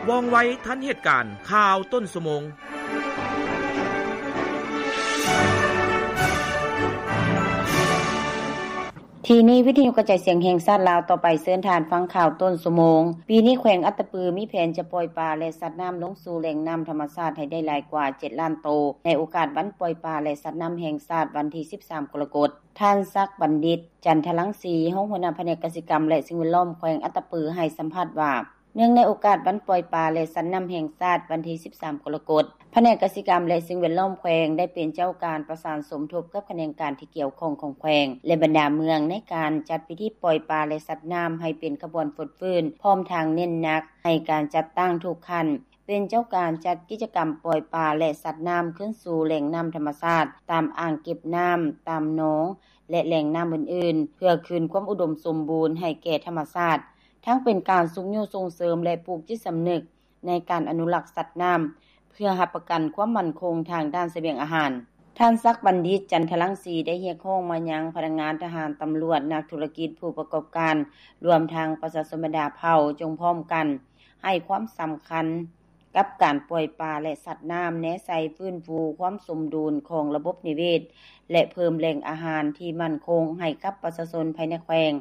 ວ່ອງໄວທັນເຫດການ ຂ່າວຕົ້ນຊົ່ວໂມງ. ທີ່ນີ້ ວິທະຍຸກະຈາຍສຽງແຫ່ງຊາດລາວ ຕໍ່ໄປເຊີນທ່ານຟັງຂ່າວຕົ້ນຊົ່ວໂມງ. ປີນີ້ແຂວງອັດຕະປືມີແຜນຈະປ່ອຍປາ ແລະ ສັດນ້ຳລົງສູ່ແຫຼ່ງນ້ຳທຳມະຊາດໃຫ້ໄດ້ຫຼາຍກວ່າເຈັດລ້ານໂຕ ໃນໂອກາດວັນປ່ອຍປາ ແລະ ສັດນ້ຳແຫ່ງຊາດ ວັນທີສິບສາມ ກໍລະກົດ. ທ່ານ ສັກບັນດິດ ຈັນທະລັງສີ ຮອງຫົວໜ້າພະແນກກະສິກຳ ແລະ ສິ່ງແວດລ້ອມແຂວງອັດຕະປື ໃຫ້ສຳພາດວ່າ ເນື່ອງໃນໂອກາດວັນປ່ອຍປາ ແລະ ສັດນ້ຳແຫ່ງຊາດ ວັນທີສິບສາມ ກໍລະກົດ, ພະແນກກະສິກຳ ແລະ ສິ່ງແວດລ້ອມແຂວງ ໄດ້ເປັນເຈົ້າການປະສານສົມທົບກັບຂະແໜງການທີ່ກ່ຽວຂ້ອງຂອງແຂວງ ແລະ ບັນດາເມືອງ ໃນການຈັດພິທີປ່ອຍປາ ແລະ ສັດນ້ຳໃຫ້ເປັນຂະບວນຟົດຟື້ນ, ພ້ອມທັງເນັ້ນໜັກໃຫ້ການຈັດຕັ້ງທຸກຂັ້ນ ເປັນເຈົ້າການຈັດກິດຈະກຳປ່ອຍປາ ແລະ ສັດນ້ຳຄືນສູ່ແຫຼ່ງນ້ຳທຳມະຊາດ, ຕາມອ່າງເກັບນ້ຳ, ຕາມໜອງ ແລະ ແຫຼ່ງນ້ຳອື່ນໆ ເພື່ອຄືນຄວາມອຸດົມສົມບູນໃຫ້ແກ່ທຳມະຊາດ, ທັງເປັນການຊຸກຍູ້ສົ່ງເສີມ ແລະ ປູກຈິດສຳນຶກໃນການອະນຸລັກສັດນ້ຳ ເພື່ອຮັບປະກັນຄວາມໝັ້ນຄົງທາງດ້ານສະບຽງອາຫານ. ທ່ານ ສັກບັນດິດ ຈັນທະລັງສີ ໄດ້ຮຽກຮ້ອງມາຍັງພະນັກງານ, ທະຫານ, ຕຳຫຼວດ, ນັກທຸລະກິດ, ຜູ້ປະກອບການ, ລວມທັງປະຊາຊົນບັນດາເຜົ່າ ຈົ່ງພ້ອມກັນໃຫ້ຄວາມສຳຄັນ ກັບການປ່ອຍປາ ແລະ ສັດນ້ຳ, ແນໃສ່ຟື້ນຟູຄວາມສົມດຸນຂອງລະບົບນິເວດ ແລະ ເພີ່ມແຫຼ່ງອາຫານທີ່ໝັ້ນຄົງໃຫ້ກັບປະຊາຊົນພາຍໃນແຂວງ.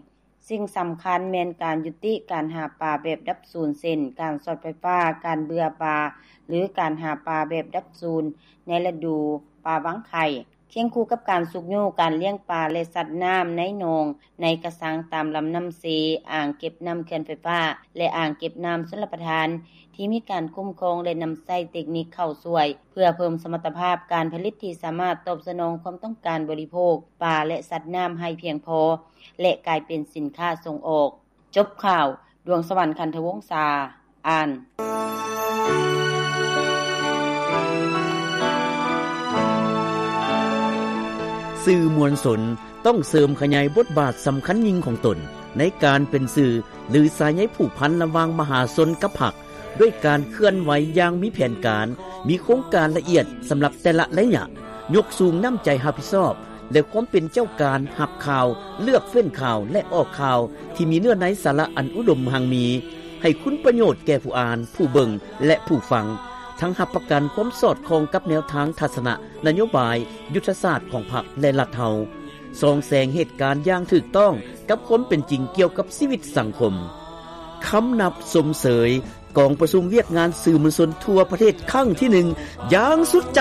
ສິ່ງສຳຄັນແມ່ນການຍຸຕິການຫາປາແບບດັບສູນ ເຊັ່ນ ການຊັອດໄຟຟ້າ, ການເບື່ອປາ ຫຼື ການຫາປາແບບດັບສູນໃນລະດູປາວາງໄຂ່. ຄຽງຄູ່ກັບການຊຸກຍູ້ການລ້ຽງປາ ແລະ ສັດນ້ຳໃນໜອງ, ໃນກະຊັງຕາມລຳນ້ຳເຊ, ອ່າງເກັບນ້ຳເຂື່ອນໄຟຟ້າ ແລະ ອ່າງເກັບນ້ຳຊົນລະປະທານ ທີ່ມີການຄຸ້ມຄອງ ແລະ ນຳໃຊ້ເຕັກນິກເຂົ້າຊ່ວຍ ເພື່ອເພີ່ມສະມັດຕະພາບການຜະລິດທີ່ສາມາດຕອບສະໜອງຄວາມຕ້ອງການບໍລິໂພກປາ ແລະ ສັດນ້ຳໃຫ້ພຽງພໍ ແລະ ກາຍເປັນສິນຄ້າສົ່ງອອກ. ຈົບຂ່າວ, ດວງສະຫວັນ ຄັນທະວົງສາ ອ່ານ. ສື່ມວນຊົນຕ້ອງເສີມຂະຫຍາຍບົດບາດສຳຄັນຍິ່ງຂອງຕົນ ໃນການເປັນສື່ ຫຼື ສາຍໃຍຜູກພັນລະຫວ່າງມະຫາຊົນກັບພັກ ດ້ວຍການເຄື່ອນໄຫວຢ່າງມີແຜນການ, ມີໂຄງການລະອຽດສຳລັບແຕ່ລະໄລຍະ, ຍົກສູງນ້ຳໃຈຮັບຜິດຊອບ ແລະ ຄວາມເປັນເຈົ້າການຮັບຂ່າວ, ເລືອກເຟ້ນຂ່າວ ແລະ ອອກຂ່າວທີ່ມີເນື້ອໃນສາລະອັນອຸດົມຮັ່ງມີ, ໃຫ້ຄຸນປະໂຫຍດແກ່ຜູ້ອ່ານ, ຜູ້ເບິ່ງ ແລະ ຜູ້ຟັງ, ທັງຮັບປະກັນຄວາມສອດຄ່ອງກັບແນວທາງທັດສະນະ, ນະໂຍບາຍ, ຍຸດທະສາດຂອງພັກ ແລະ ລັດເຮົາ, ສ່ອງແສງເຫດການຢ່າງຖືກຕ້ອງກັບຄວາມເປັນຈິງກ່ຽວກັບຊີວິດສັງຄົມ. ຄຳນັບຊົມເຊີຍ ກອງປະຊຸມວຽກງານສື່ມວນຊົນທົ່ວປະເທດຄັ້ງທີໜຶ່ງ ຢ່າງສຸດໃຈ.